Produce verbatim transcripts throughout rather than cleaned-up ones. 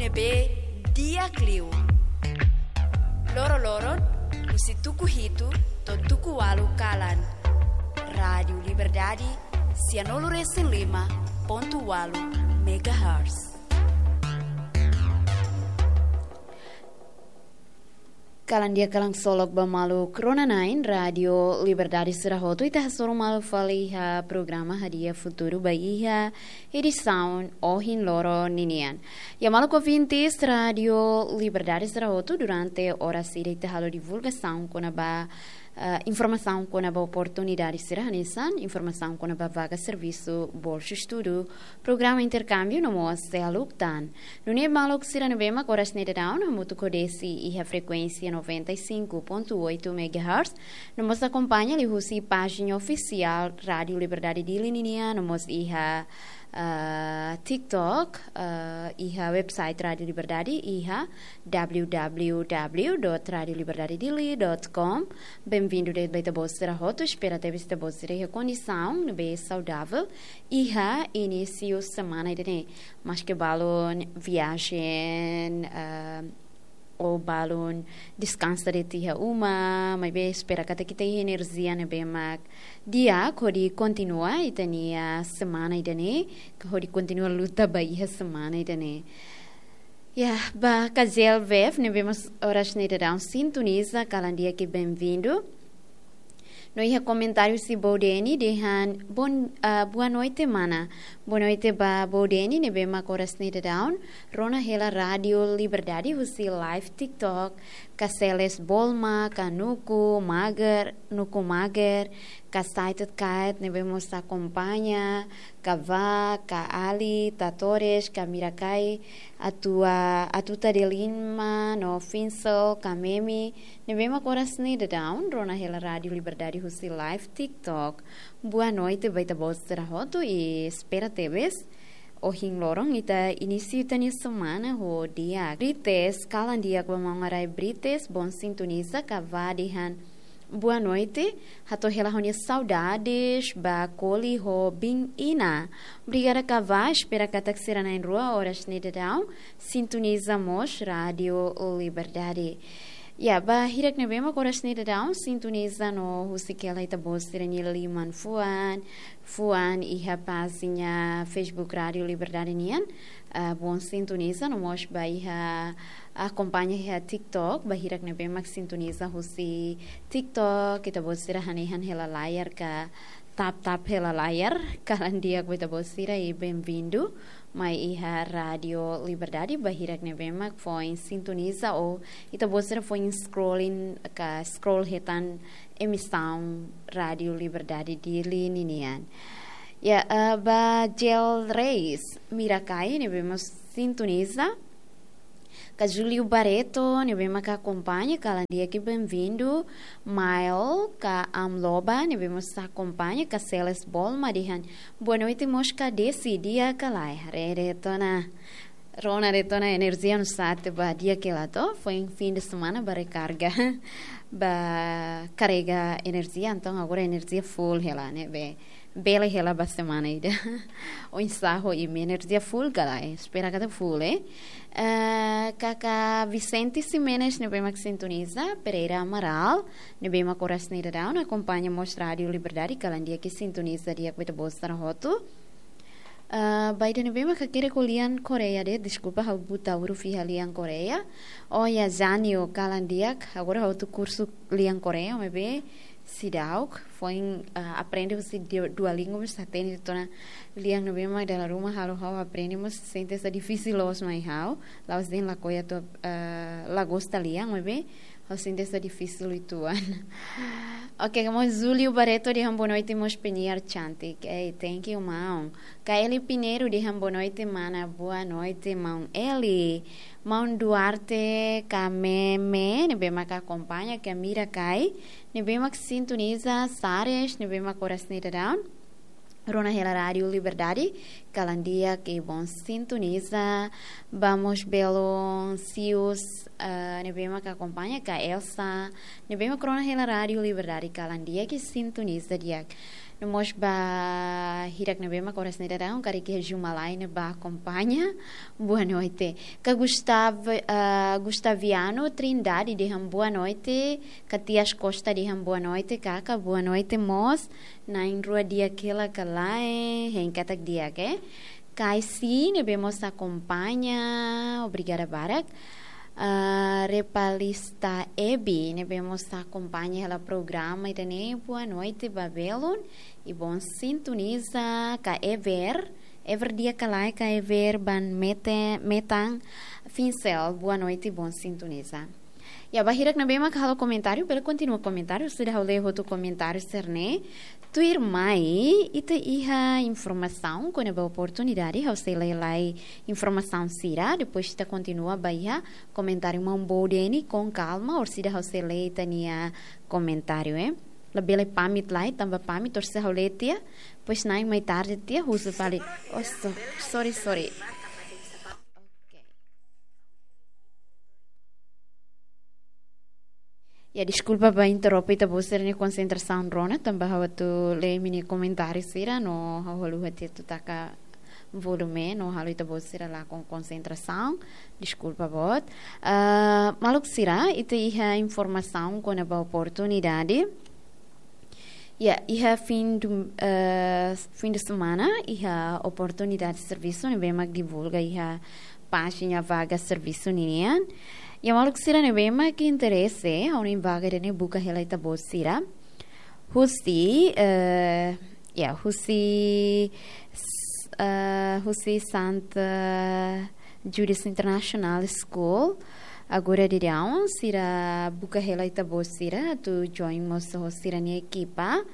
Be di'ak liu. Loro-loron, husi tuku hitu to'o tuku ualu kalan. Rádiu Liberdade, sianulu resin lima pontu ualu megahertz. Kalan di'ak, kalan solok ba maluk rona-na'in Rádiu Liberdade sira hotu, ita hasoru malu fali iha programa Hadi'a Futuru ba iha edisaun ohin loron ninian. Ya, maluk ouvintes Rádiu Liberdade sira hotu, durante oras ida ita halo divulgasaun kona-ba, eh, informasaun kona-ba oportunidade sira hanesan, informasaun kona-ba vaga servisu, bolsa estudu, programa interkámbiu no mós seluk tan. Nune'e maluk sira ne'ebé mak oras ne'e daudaun hamutuk ho Desi iha frekuénsia noventa e cinco ponto oito megahertz, no mós akompaña liuhusi pájina ofisiál Rádiu Liberdade Dili ninian, no mós iha, ah, TikTok, ah, iha website Rádiu Liberdade, iha w w w dot radio liberdade dili dot com. Benvindu de'it ba ita-boot sira hotu, espera tebes ita-boot sira iha kondisaun ne'ebé saudavel iha inísiu semana ida-ne'e. Maske balun viajen, ah, ou balun deskansa de'it iha uma, maibé espera katak ita iha enerjia ne'ebé mak di'ak hodi kontinua ita-nia semana ida-ne'e, hodi kontinua luta ba iha semana ida-ne'e. Ya, ba Kazel Vef ne'ebé mak oras ne'e daudaun sintoniza, kalan di'ak i benvindu. No iha komentáriu husi Boudeni dehan, "Bon, ah, boa noite, mana." Boa noite ba Boudeni ne'ebé mak oras ne'e daudaun rona hela Rádiu Liberdade husi live TikTok, ka Celes Bolma, ka Nuku Mager, Nuku Mager, ka Saitet Kait ne'ebé mós akompaña, ka Va, ka Ali, Tatores, ka Mirakai, Atua, Atuta de Lima, no Finsel, ka Memi, ne'ebé mak oras ne'e daudaun rona hela Rádiu Liberdade husi live TikTok. Boa noite ba ita-boot sira hotu i espera tebes ohin loron ita inísiu ita-nia semana ho di'ak. Brites, kalan di'ak ba maun Arai Brites, bom sintoniza, ka Va dehan boa noite, hato'o hela ha'u-nia saudades ba Koli ho Bin Ina. Obrigada ka Va, espera katak sira na'in-rua oras ne'e daudaun sintoniza mós Rádiu Liberdade. Ya, ba hirak ne'ebé mak oras ne'e daudaun sintoniza no husik hela ita-boot sira-nia liman fuan, fuan iha pájina Facebook Rádiu Liberdade nian, ah, bom sintoniza, no mós ba iha akompaña iha TikTok, ba hirak ne'ebé mak sintoniza husi TikTok, ita-boot sira hanehan hela layar ka tap-tap hela layar, kalan di'ak ba ita-boot sira i benvindu mai iha Rádiu Liberdade, ba hirak ne'ebé mak foin sintoniza ou ita-boot sira foin scrolling ka scroll hetan emisaun Rádiu Liberdade Dili ninian. Ya, eh, ba Jel Reis, Mirakai ne'ebé mós sintoniza. Ka Júlio Barreto ne'ebé mak akompaña, kalan di'ak i benvindu. Mael, ka Amloba ne'ebé mós akompaña, ka Celes Bolma dehan boa noite mós ka Desi, di'ak ka lae? Haree de'it ona. Rona de'it ona enerjia no sate ba di'ak hela to, foin fim de semana ba rekarga, ba karrega enerjia, entaun agora enerjia full hela ne'ebé bele hela ba semana ida. Oinsá ho imi, enerjia full ka lae? Espera katak full, eh? Eh, Kaka Vicente Ximenes ne'ebé mak sintoniza, Pereira Amaral ne'ebé mak oras ne'e daudaun akompaña mós Rádiu Liberdade, kalan di'ak i sintoniza di'ak ba ita-boot sira hotu. Ah, ba ida ne'ebé mak hakerek ho lian Koreia de'it, deskulpa ha'u buta huruf iha lian Koreia. Oh ya, Janio, kalan di'ak, agora ha'u hotu kursu lian Koreia, maibé seidauk, foin, ah, aprende husi Du-, Duolingo, maibé hatene de'it ona lian ne'ebé mak dala ruma halo ha'u aprende, maibé sente sai difisil loos mai ha'u, la'ós dehan lakohi atu, ah, la gosta lian, maibé ha'u sente sai difisil uitoan. Oke, kamu Julio Barreto dehan boa noite, mós penyiar cantik. Ei, thank you, maun. Ka Eli Pinheiro dehan boa noite, mana. Boa noite, maun Eli. Maun Duarte, ka Meme ne'ebé mak akompaña, ka Mirakai ne'ebé mak sintoniza, Sares ne'ebé mak oras ne'e daudaun rona hela Rádiu Liberdade, kalan di'ak i bom sintoniza. Ba mós belun Sius, eh, ne'ebé mak akompaña, ka Elsa ne'ebé mak rona hela Rádiu Liberdade, kalan di'ak i sintoniza di'ak. No mós ba hirak ne'ebé mak oras ne'e daudaun karik iha Juma Lain ne'e ba akompaña. Boa noite. Ka Gustav-, ah, Gustaviano Trindade dehan boa noite. Ka Tias Costa dehan boa noite. Kaka, boa noite mós. Na'in rua di'ak hela ka lae, hein katak di'ak, eh. Kaisi ne'ebé mós akompaña, obrigada barak. Ah, Repalista Ebi ne'ebé mós akompaña hela programa ida-ne'e, boa noite ba belun, i bom sintoniza. Ka Ever, Ever di'ak ka lae, ka Ever Van Mete-, Metan Finsel, boa noite, bom sintoniza. Ya, ba hirak ne'ebé mak halo komentáriu, bele kontinua komentáriu, seidauk ha'u lee hotu komentáriu sira-ne'e. Tuirmai, ita iha informasaun kona-ba oportunidade, ha'u sei lee lai informasaun sira, depois ita kontinua ba iha komentáriu maun Bodeni, com calma, orsida ha'u sei lee ita-nia komentáriu, eh. Labele pamit lai, tanba pamit, orsida ha'u lee tiha, depois na'in mai tarde tiha, husu fali. Oh, so-, sorry, sorry. Ya, deskulpa ba interrompe ita-boot sira-nia konsentrasaun rona, tanba ha'u atu lee imi-nia komentáriu sira, no ha'u haluha tiha atu taka volume, no halo ita-boot sira lakon konsentrasaun. Deskulpa boot. Ah, maluk sira, ita iha informasaun kona-ba oportunidade. Ya, iha fim do, eh, fim de semana, iha oportunidade servisu ne'ebé mak divulga iha pájina vaga servisu ninian. Ya, maluk sira ne'ebé mak interese, ha'u-nia vaga ida-ne'e buka hela ita-boot sira. Husi, eh, ya, husi, s-, eh, husi Santa Judas International School. Agora daudaun, sira buka hela ita-boot sira, atu join mós ho sira-nia ekipa.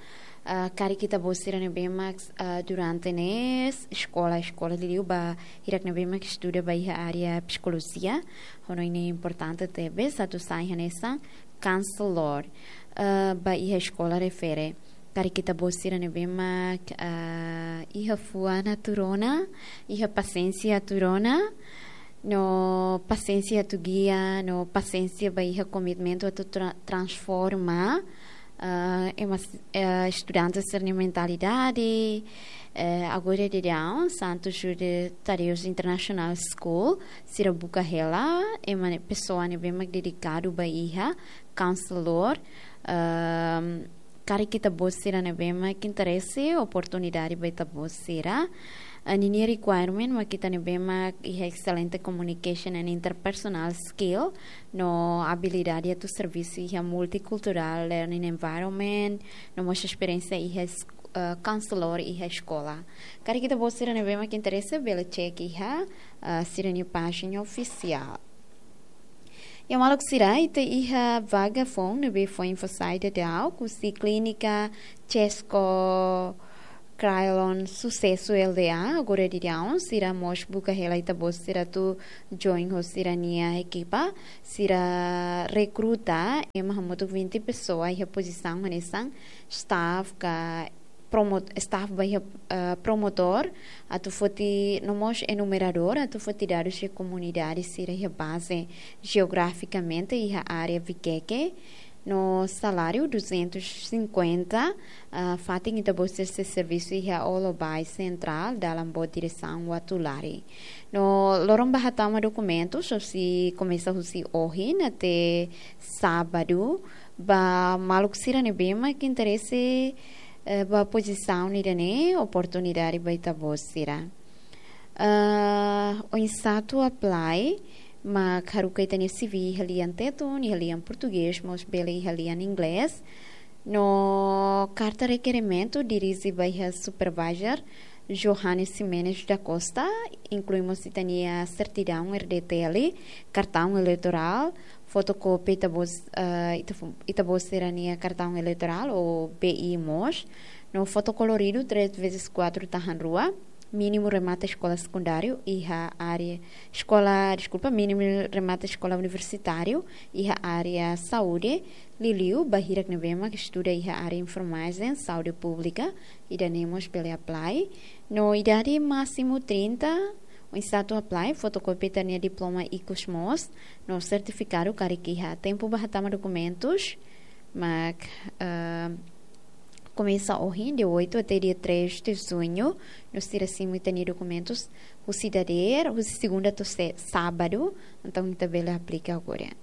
Ah, karik ita-boot sira ne'ebé mak, ah, durante ne'e eskola, eskola liuliu ba hirak ne'ebé mak estuda ba iha área psikolojia. Ha'u hanoin ne'e importante tebes, atu sai hanesan counselor, ah, ba iha eskola refere. Karik ita-boot sira ne'ebé mak, ah, iha fuan atu rona, iha pasiénsia atu rona, no pasiénsia atu gia, no pasiénsia ba iha komitmentu atu tra-, transforma, ah, ema s-, eh, estudante sira-nia mentalidade, eh, agora daudaun, Santo Judas Tadeu International School, sira buka hela, ema ne'e, pesoa ne'ebé mak dedikadu ba iha, counselor, ehm, karik ita-boot sira ne'ebé mak interese, oportunidade ba ita-boot sira. Ah, ninia requirement mak ita ne'ebé mak iha excelente communication and interpersonal skill, no abilidade atu servisu iha multicultural learning environment, no mós esperiénsia iha es-, ah, counselor iha eskola. Karik ita-boot sira ne'ebé mak interese, bele check iha, ah, sira-nia pájina ofisiál. Ya, maluk sira, ita iha vaga foun ne'ebé foin fó sai daudaun, husi Clínica Chesco Crylon Sucesso L D A, agora daudaun, sira mós buka hela ita-boot sira atu join ho sira-nia ekipa, sira rekruta ema hamutuk vinte pesoa iha pozisaun hanesan staff ka promo-, staff ba iha, eh, promotor, atu foti, no mós enumeradór, atu foti dadus iha komunidade sira iha baze jeografikamente iha área Viqueque, no saláriu duzentos e cinquenta, ah, fatin ita-boot sira sei servisu iha Olobai Central, dalan boot diresaun Uatulari. No loron ba hatama dokumentus, husi, komesa husi ohin até sábadu, ba maluk sira ne'ebé mak interese, eh, ba pozisaun ida-ne'e, oportunidade ba ita-boot sira. Ah, oinsá atu apply, mak haruka ita-nia C V iha lian Tetun, iha lian Portugés, mós bele iha lian Inglés. No karta rekerimentu dirije ba iha supervisor Johannes Ximenes da Costa, inklui mós ita-nia sertidaun R D T L, kartaun eleitorál, fotokópia ita-boot, eh, ita fo-, ita-boot sira-nia kartaun eleitorál ou B I mós, no foto koloridu três vezes quatro tahan rua, mínimu remata eskola sekundáriu iha área, eskola, deskulpa, mínimu remata eskola universitáriu iha área saúde, liuliu ba hirak ne'ebé mak estuda iha área enfermajen, saúde públika, ida-ne'e mós bele apply. No idade másimu trinta, oinsá atu apply, fotokópia ita-nia diploma ikus mós, no sertifikadu karik iha, tempu ba hatama dokumentus, mak, eh, komesa ohin, dia oito até dia três de junho, no sira simu ita-nia dokumentus husi dadeer, husi segunda to'o se-, sábadu, entaun ita bele aplika agora.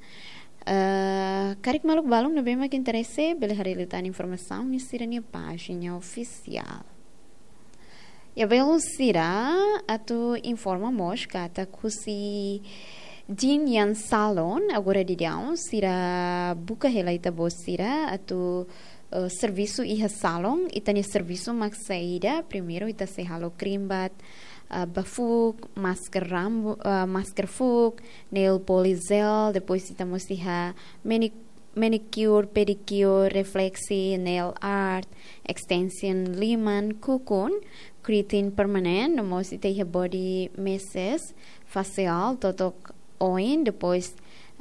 Ah, karik maluk balun ne'ebé mak interese, bele haree liután informasaun iha sira-nia pájina ofisiál. Ya, belun sira, atu informa mós katak husi Jin Yang Salon, agora daudaun, sira buka hela ita-boot sira atu, eh, servisu iha salon, ita-nia servisu mak saida, primeiru ita sei halo cream bath, eh, ba fuuk, masker rambu-, eh, masker fuuk, nail polish gel, depois ita mós iha mani-, manicure, pedicure, refleksi, nail art, extension liman, kukun, keratin permanen, no mós ita iha body massage, facial, totok oin, depois,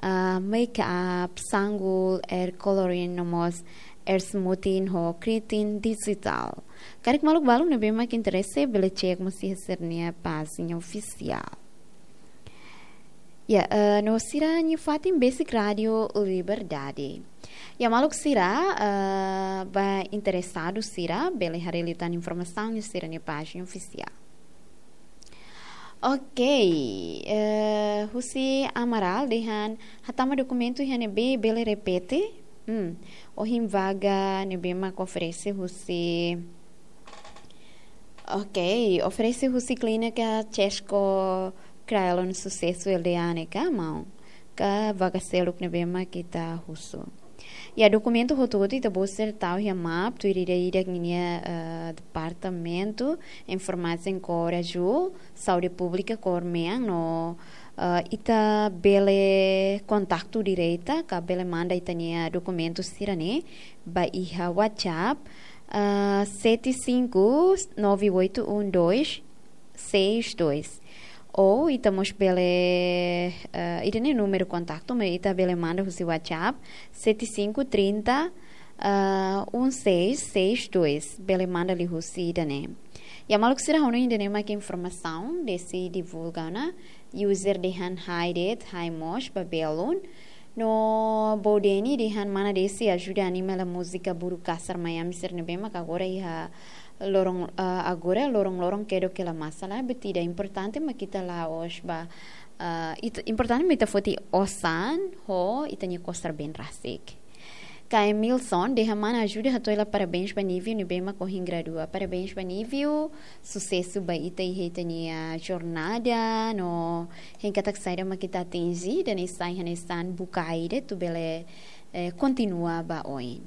ah, make up, sanggul, hair coloring, no mós hair smoothing ho keratin digital. Karik maluk balun ne'ebé mak interese, bele cek mós iha sira-nia pájina ofisiál. Ya, eh, no sira-nia fatin besik Rádio Liberdade. Ya, maluk sira, eh, ba interesadu sira, bele haree liután informasaun iha sira-nia pájina ofisiál. Ok, eh, husi Amaral dehan hatama dokumentu iha ne'ebé, bele repete. Hmm, ohin vaga ne'ebé mak oferese husi, ok, oferese husi klínika Chesco Cryon Sucesso L D A ne'e ka, maun? Ka vaga seluk ne'ebé mak ita husu? Ya, dokumentu hotu-hotu ita-boot sira tau iha map, tuir ida-idak ninia, eh, departamentu, enfermajen kór azúl, saúde públika kór mean, no, eh, ita bele kontaktu direta, ka bele manda ita-nia dokumentu sira-ne'e ba iha WhatsApp, eh, sete cinco nove oito um dois seis dois. Ou ita mós bele, eh, ida-ne'e númeru kontaktu, mas ita bele manda husi WhatsApp, sete cinco trinta, ah, um seis seis dois. Bele manda liuhusi ida-ne'e. Ya, maluk sira, hanoin ida-ne'e mak informasaun, desi divulga ona, user dehan hai de'it, hai mós ba belun. No Bodeni dehan mana desi ajuda anima hela múzika Buru Kasar Miami sira ne'ebé mak agora iha loron, ah, agora loron-loron kedok hela masalah, buat ida importante mak ita la'ós ba, ah, it-, importante mak ita foti osan ho ita-nia kosar been rasik. Ka Emilson dehan mana ajuda hato'o hela parabéns ba Nívio ne'ebé mak ohin gradua. Parabéns ba Nívio, susesu ba ita iha ita-nia jornada, no hein katak saida mak ita atinje, ida-ne'e sai hanesan bukae ida atu bele, eh, kontinua ba oin.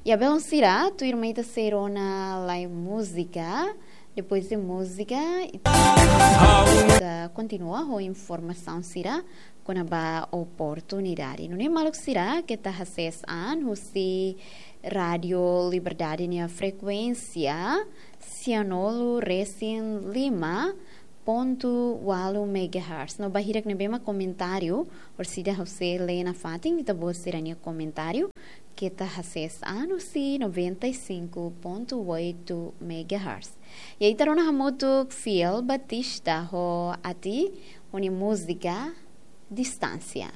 Ya, belun sira, tuirmai ita sei rona lai múzika, depois de múzika, ita kontinua ho informasaun sira kona-ba oportunidade. Nune'e maluk sira, keta hasees an husi Rádio Liberdade nia frekuénsia, sianulu resin lima pontu ualu megahertz. No ba hirak ne'ebé mak komentáriu, orsida ha'u sei lee nafatin ita-boot sira-nia komentáriu, keta hasees an husi noventa e cinco ponto oito megahertz. Ya, ita rona hamutuk Fiel Batista ho Ati, ho nia múzika Distánsia.